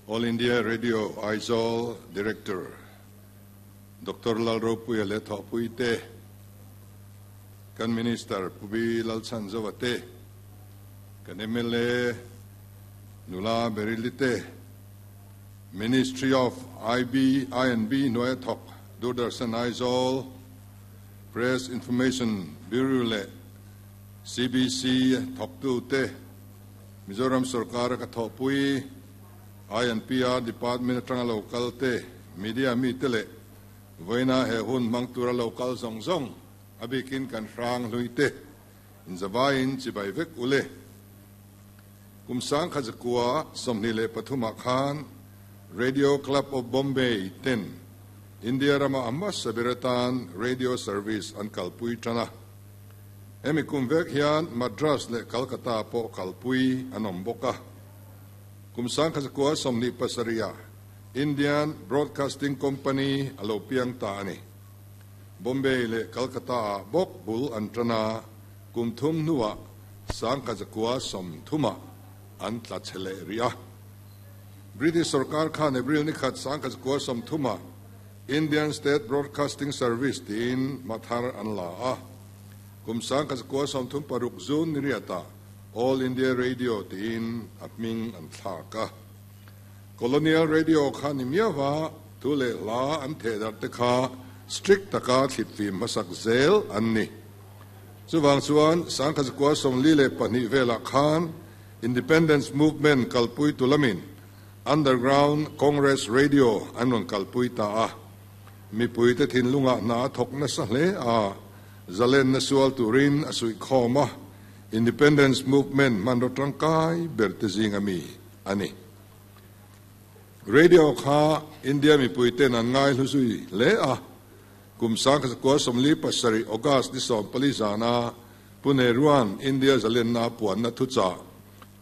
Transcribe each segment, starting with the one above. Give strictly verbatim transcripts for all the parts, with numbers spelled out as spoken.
All India Radio Aizawl Director Doctor Lalropuia leh thawhpui te, kan Minister Pu B Lalchhanzova te, kan M L A Nula Baryli te, Ministry of I B I and B hnuaia thawk Doordarshan Aizawl, Press Information Bureau leh C B C thawktu te, Mizoram Sarkar ka thawhpui I and P R Department atanga local te, media mi te leh voina he hun hmang tura local zawng zawng, a bikin kan hrang hlui te, inzawaiin chibai vek ule. Kum sang khat zakua sawmhnih leh pathumah khan Radio Club of Bombay ten India rama a hmasa ber atan radio service an kalpui tana. Hemi kum vek hian Madras leh Calcutta pawh kalpui an awm bawk a. Kum sang khat zakua sawmhnih pasarihah Indian Broadcasting Company a lo piang ta a ni. Bombay leh Calcutta ah bawk bul an tana, kum thum hnuah sang khat zakua sawm thumah an tla chhe leh rih a. British sarkar khan April ni khat sang khat zakua sawm thumah Indian State Broadcasting Service tiin mathar an la a. Kum sang khat zakua sawm thum paruk June ni riatah All India Radio tiin a hming an thlak a. Colonial Radio kha ni miawa thu leh hla an theh darh te kha strict taka thlitfim hmasak zel an ni. Chuwang chuan sang khat zakua sawmli leh pahnih velah khan Independence Movement kalpui tulamin Underground Congress Radio an rawn kalpui ta a. Mipui te thinlunga hna thawk nasa hle a, zalen na sual turin a suih khawm a, Independence Movement hmanraw tangkai ber te zinga mi ani. Radio kha India mipui ten an ngai hlu zui hle a. Kum sang khat zakua sawmli pasarih August ni sawm pali zana Pu Nehruan India zalen na puan na thucha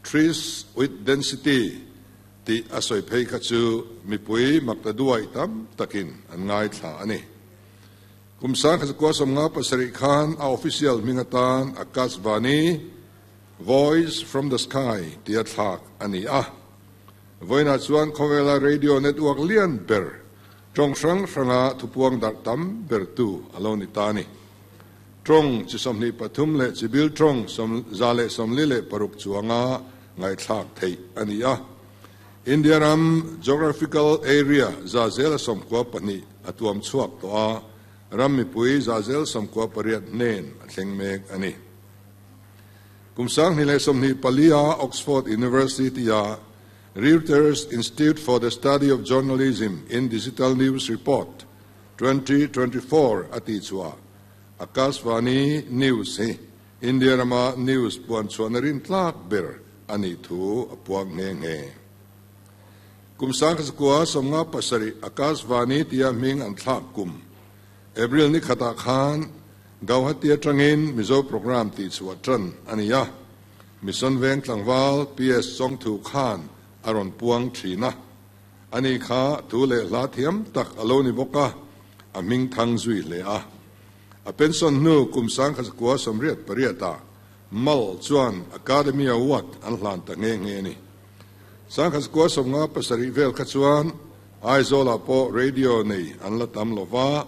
"Tryst with Destiny" ti a sawi phei kha chu mipui makta duai tam takin an ngai thla ani. Kum sang khat zakua sawmnga pasarih khan a official hming atan Akashvani, "Voice from the Sky" tia thlak ani a. Voina chuan khawvela radio network lian ber, tawng hrang hranga thupuang darh tam ber tu alo ni ta ni. Tawng chi sawmhnih pathum leh chibil tawng sawm za leh sawmli leh paruk chuanga ngaihthlak theih ani a. India ram geographical area za zela sawmkua pahnih a tuam chhuak tawh a, ram mipui za zel sawmkua pariat hnen a thleng mek ani. Kum sang hnih leh sawmhnih palia Oxford University a Reuters Institute for the Study of Journalism in Digital News Report twenty twenty-four ati chua Akashvani News hi India rama news puan chuan rin tlak ber ani thu a puang nge nge. Kum sang khat sawmnga pasarih Akashvani tia hming an thlak kum April ni khata khan Gauhati atangin Mizo program ti chhuah tan ani a. Mission Veng tlangwal P S Chongthu khan aron puang thina ani kha thu leh hla thiam tak alo ni bawka, a hming thang zui hle a. A pension nu kum sang khat zakua sawmriat pariata mal chuan Academy Award an hlan ta nge nge ni. Sang khat zakua sawmnga pasarih vel kha chuan Aizawlah pawh radio nei an la tam lova,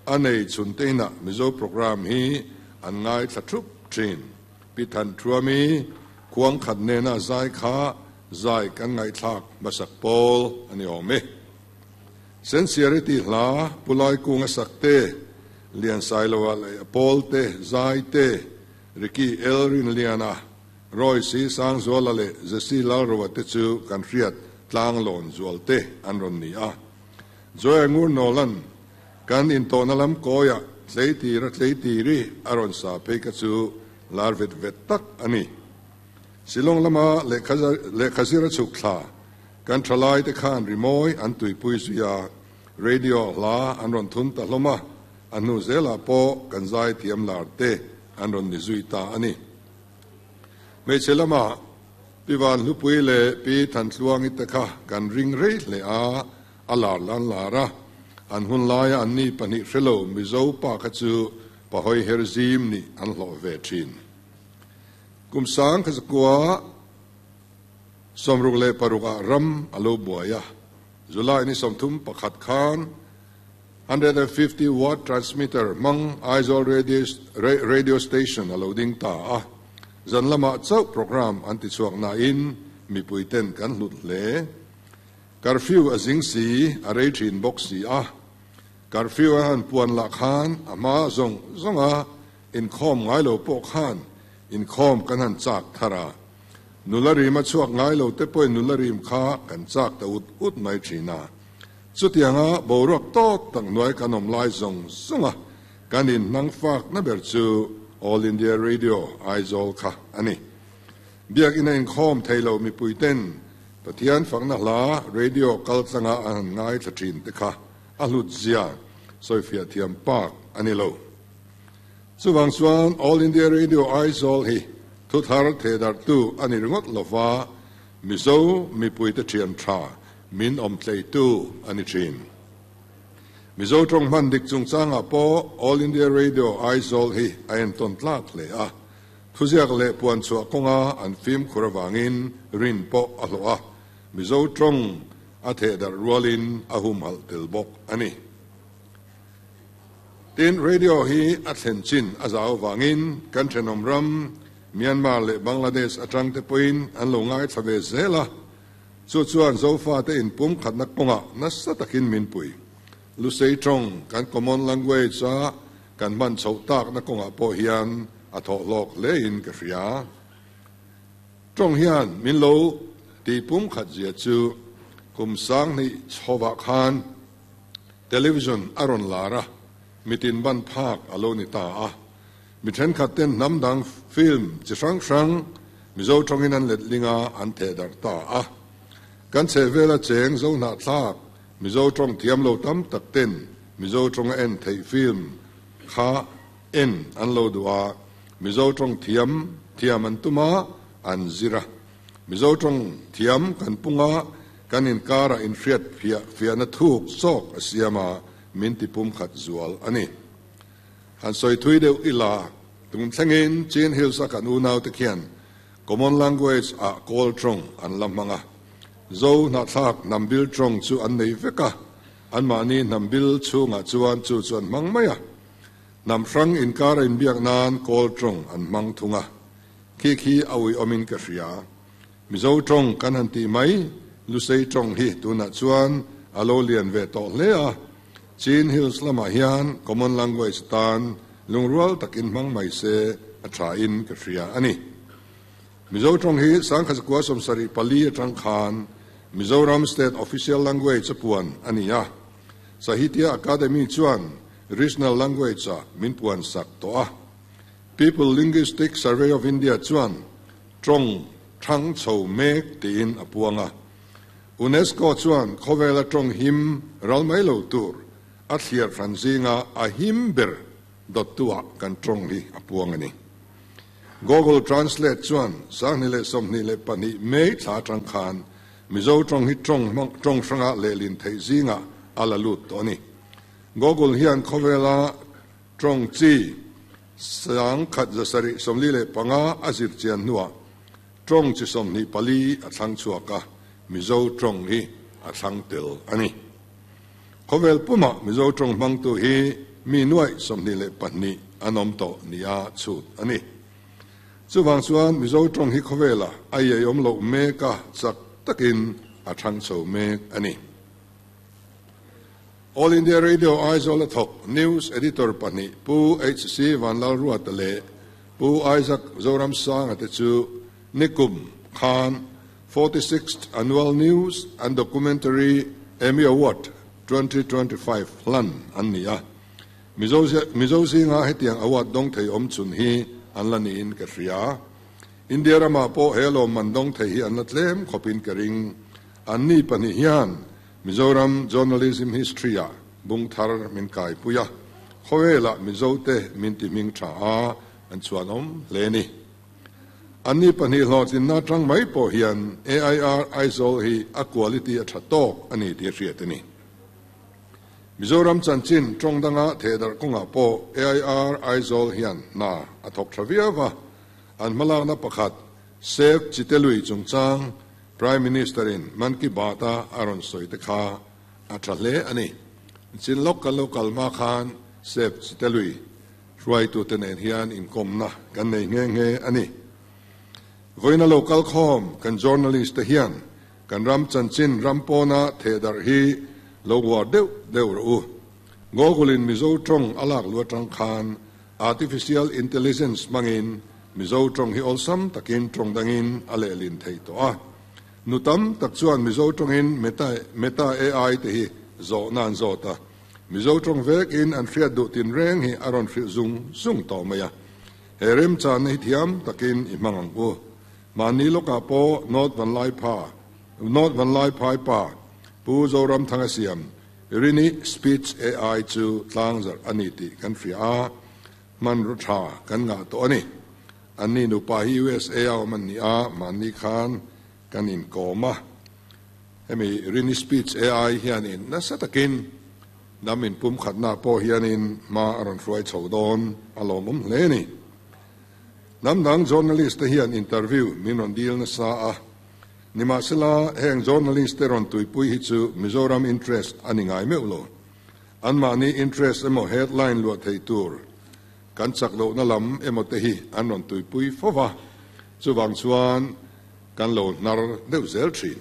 a nei chhun teina Mizo program hi an ngai thla thup thin. Pi Than Thuami khuang khat nena zai kha zai kan ngai thlak masak pawl ani awm e. Sincerity hla pulai kunga sakte, Lian Sailoa leh pawl te zai te, Ricky Elrin Liana, Roy Si Sang Zuala leh Jesse Lalrowa te chu kan hriat tlang lawn zual te an rawn ni a. Joy Ngur Nolan kan intawhna lam kawia tleitira tleitiri a rawn sa phei kha chu lar vet vet tak ani. Shillong lama lehkha zira chhuk thla kan thalai te khan rimawi an tuipui zuia, radio hla an rawn thun ta hlawm a, a hnu zelah pawh kan zai thiam lar te an rawn ni zui ta ani. Hmeichhe lama Pivan Hlupui leh Pi Thantluangi te kha kan ring rei hle a, a lar lan lar a. An hun laia an ni pahnih hrelo Mizo pa kha chu pahawi her zim ni an hlawh ve thin. Kum sang khat zakua Sawmruk leh parukah ram a lo buai a, July ni sawmthum pakhat khan hundred and fifty watt transmitter hmang Aizawl radio station a lo ding ta a, zan lamah chauh programme an ti chhuak nain mipui ten kan hlut hle. Curfew a zing si, a rei thin bawk si a, curfew a han puan lah khan a hma zawng zawnga inkhawm ngai lo pawh khan inkhawm kan han chak thar a, nula rim a chhuak ngai lo te pawhin nula rim kha kan chak ta ut ut mai thin a. Chutianga boruak tawk tak hnuai kan awm lai zawng zawnga kan inhnang fak na ber chu All India Radio Aizawl kha a ni. Biakina inkhawm thei lo mipui ten Pathian fakna hla radio kal tlanga an han ngai thla thin te kha a hlut zia sawifiah thiam pak a ni lo. Chuvang chuan All India Radio Aizawl hi thuthar thehdarhtu a ni ringawt lova, Mizo mipuite thian tha min awm tleitu a ni thin. Mizo tawng hman dik chungchangah pawh All India Radio Aizawl hi a entawn tlak hle a, thuziak leh puan chhuah kawnga an fimkhur avangin rin pawh a hlawh a, Mizo tawng a thehdarh rualin a humhalh tel bawk a ni. Tin, radio hi a thlen chin a zau avangin kan thenawm ram Myanmar leh Bangladesh atang te pawhin an lo ngaithla ve zel a, chu chuan Zofa te inpum khatna kawngah nasa takin min pui. Lusei tawng kan common language a kan hman chhoh takna kawngah pawh hian a thawh hlawk hlein ka hria. Tawng hian min lo tihpum khat zia chu kum sanghnih chhovah khan television a rawn lar a, mitin ban phak a lo ni ta a. Mi thenkhat ten hnam dang film chi hrang hrang Mizo tawngin an letling a, an thehdarh ta a. Kan chhehvela cheng zo hnahthlak Mizo tawng thiam lo tam tak ten Mizo tawnga en theih film kha en an lo duh a, Mizo tawng thiam thiam an tum a, an zir a. Mizo tawng thiam kan pung a, kan inkarah inhriat fiah fiahna thuk zawk a siam a, min tipum khat zual a ni. Han sawi thui deuh ila, tum thlengin Chin Hills a kan unau te khian common language ah Kawl tawng an la hmang a, Zo hnahthlak hnambil tawng chu an nei vek a, anmahni hnambil chhungah chuan chu chu an hmang mai a. Hnam hrang inkar a inbiak nan Kawl tawng an hmang thung a, khi khi a uiawmin ka hria. Mizo tawng kan han tih mai, Lusei tawng hi tunah chuan a lo lian ve tawh hle a, Chin Hills lamah hian common language tan lungrual takin hmang mai se a thain ka hria a ni. Mizo tawng hi Sangkhazakua sawmsarih pali atang khan Mizoram State Official Language a puan a ni a, Sahitya Akademi chuan Regional Language a min puan sak tawh a. People Linguistic Survey of India chuan tawng thang chho mek tiin a puang a. UNESCO chuan khawvela tawng him ral mai lo tur a thliar hran zinga a him ber dawttuah kan tawng hi a puang a ni. Google Translate chuan sanghnih leh sawmhnih leh pahnih May thla atang khan Mizo tawng hi tawng tawng hranga lehlin theih zinga a la lut tawh a ni. Google hian khawvela tawng chi sang khat zasarih sawmli leh panga a zir chian hnuah tawng chi sawmhnih pali a thlang chhuak a, Mizo tawng hi a thlang tel a ni. Khawvel puma Mizo tawng hmangtu hi mi nuai sawmhnih leh pahnih an awm tawh nia chhut a ni. Chuvang chuan Mizo tawng hi khawvela a iaiawm loh mek a, chak takin a thang chho mek a ni. All India Radio Aizawl a thawk News Editor pahnih Pu H C Vanlalruata leh Pu Isaac Zoramsanga te chu Nikum Khan forty-sixth Annual News and Documentary Emmy Award twenty twenty-five hlan an ni a. Mizo Mizo zinga hetiang award dawng thei awm chhun hi an la niin ka hria. India ramah pawh he lawm man dawng thei hi an la tlem khawpin ka ring. An ni pahnih hian Mizoram Journalism History a bung thar min kai pui a, khawvela Mizo te min ti hming tha a an chuan awm hle ni. An ni pahnih hlawhtlinna tang mai pawh hian A I R Aizawl hi a quality a tha tawk a ni tih a hriat a ni. Mizoram chanchin tawng danga thehdarh kawngah pawh A I R Aizawl hian hna a thawk tha viau a, an hmalakna pakhat Save Chitelui chungchang Prime Minister in Man Ki Baat a a rawn sawi te kha a tha hle a ni. Chin lawk kan lo kal hma khan Sep Chitelui hruaitute nen hian inkawmna kan nei nghe nghe a ni. Vawiina lo kal khawm kan journalist te hian kan ram chanchin ram pawna thehdarh hi lo uar deuh deuh rawh u. Google in Mizo tawng a lak lu atang khan Artificial Intelligence hmangin Mizo tawng hi awlsam takin tawng dangin a lehlin thei tawh a. Nu tam tak chuan Mizo tawngin Meta Meta A I te hi zawhna an zawt a. Mizo tawng vekin an hriat duh tinreng hi a rawn hrilh zung zung tawh mai a. He remchanna hi thiam takin i hmang ang u. Mahni lawkah pawh North Vanlaipa North Vanlaiphai pa Pu Zoramthanga siam Rini Speech A I chu tlangzarh a ni tih kan hria a, hmanraw tha kan ngah tawh a ni. Anni nupa hi U S A a awm an ni a, mahni khan kan inkawm a. Hemi Rini Speech A I hianin nasa takin hnam inpumkhatna pawh hianin hma a rawn hruai chho dawn a lawmawm hle a ni. Hnam dang journalist te hian interview min rawn dil nasa a, nimahsela heng journalist te rawn tuipui hi chu Mizoram interest a ni ngai meuh lo. Anmahni interest emaw headline luah thei tur kan chak lohna lam emaw te hi an rawn tuipui fo va, chuvang chuan kan lo hnar deuh zel thin.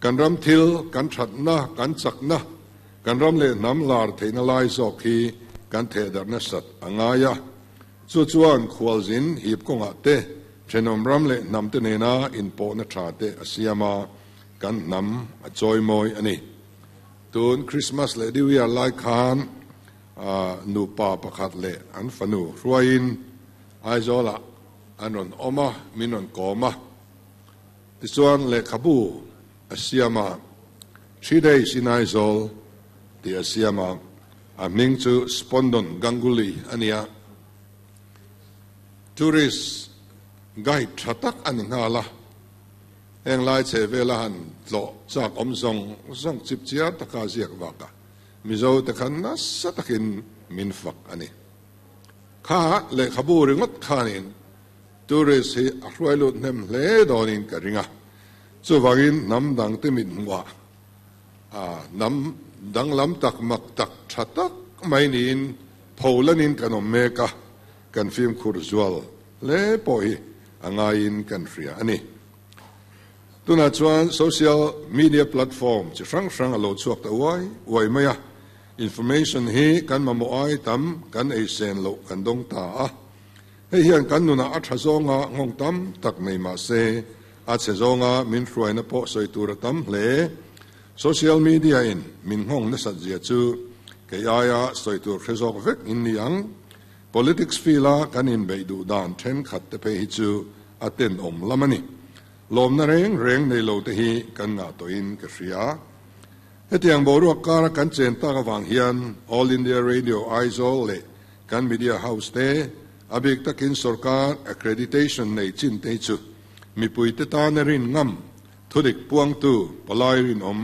Kan ram thil, kan thatna, kan chakna, kan ram leh hnam lar theihna lai zawk hi kan thehdarh nasat a ngai a. Chu chuan khualzin hip kawngah te, thenawm ram leh hnam te nena inpawhna tha te a siam a, kan hnam a chawimawi a ni. Tun Christmas leh New Year lai khan nupa pakhat leh an fanu hruaiin Aizawlah an rawn awm a, min rawn kawm a. Tichuan lehkhabu a siam a, Three Days in Aizawl tih a siam a, a hming chu Spondon Ganguly a ni a. Tourist guide tha tak a ni nghal a, heng lai chhe vela han tlawh chak awm zawng zawng chip chiar taka ziak vak a, Mizo te khan nasa takin min fak a ni. Kha lehkhabu ringawt khanin tourist hi a hruai lut hnem hle dawnin ka ring a, chuvangin hnam dangte mit hmuhah hnam danglam tak mak tak tha tak mai niin pholanin kan awm mek a, kan fimkhur zual hle pawh hi a ngaiin kan hria a ni. Tunah chuan social media platform chi hrang hrang a lo chhuak ta uai uai mai a, information hi kan mamawh ai tam kan ei sen loh kan dawng ta a. Hei hian kan nunah a tha zawnga nghawng tam tak nei mah se, a chhe zawnga min hruaina pawh sawi tur a tam hle. Social media in min nghawng nasat zia chu kei aia sawi tur hre zawk vek in ni ang. Politics field a kan inbeih duh dan thenkhat te phei hi chu a tenawm lam a ni. Lawmna reng reng nei lo te hi kan ngah tawhin ka hria. Hetiang boruak kara kan chen tak avang hian All India Radio Aizawl leh kan media house te a bik takin sorkar accreditation nei chin te hi chu mipui te tana rin ngam thudik puangtu palai rinawm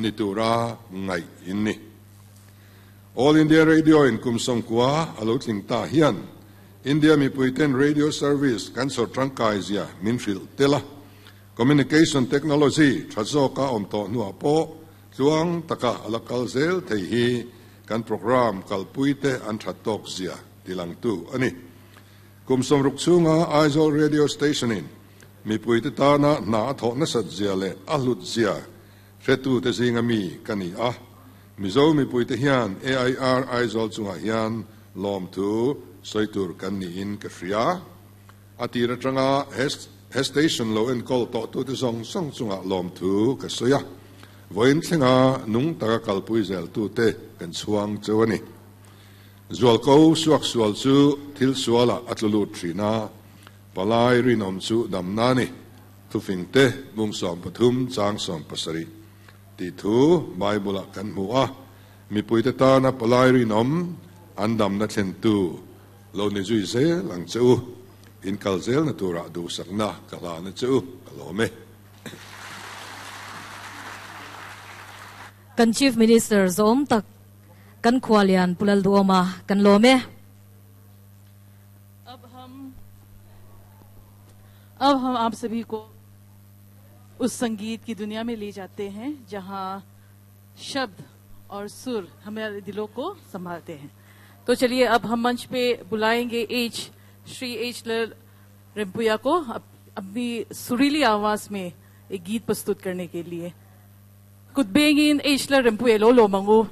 ni tura ngaih in ni. All India Radio in kum sawmkua a lo tling ta hian India mipui ten radio service kan sawr tangkai zia min hrilh tel a, communication technology tha zawka awm tawh hnuah pawh tluang taka a la kal zel thei hi kan program kalpui te an that tawk zia tilangtu a ni. Kum sawmruk chhunga Aizawl Radio Station in mipui te tana hna a thawh nasat zia leh a hlut zia hretu te zinga mi ka ni a. Mizo mipui te hian A I R Aizawl chungah hian lawmthu sawi tur kan niin ka hria. A tir atanga he station lo enkawl tawh tute zawng zawng chungah lawmthu ka sawi a. Vawiin thlenga nung taka kalpui zel tute kan chhuang cheu a ni. Zualko suak sual chu thil sualah a tlu lut thin a, palai rinawm chu damna a ni. Thufing te bung sawm pathum chang sawm pasarih tih thu Bible-ah kan hmu a, mipuite tana palai rinawm an damna thlentu lo ni zui zel ang che u. In kal zelna turah duhsakna ka hlana che u, ka lawm e. Kan Chief Minister zawm tak kan khualian Pu Lalduhawma kan lawm e. Ab hum ab hum aap sabhi ko उस संगीत की दुनिया में ले जाते हैं जहां शब्द और सुर हमारे दिलों को संभालते हैं। तो चलिए अब हम मंच पे बुलाएंगे एच श्री एच रिम्पुया को अपनी सुरीली आवाज में एक गीत प्रस्तुत करने के लिए। कुदबेंगिन एच रिम्पुए लो लो Mangu.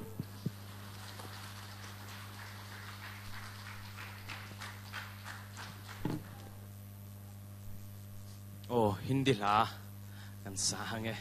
Oh, Hindi la kan sa hange.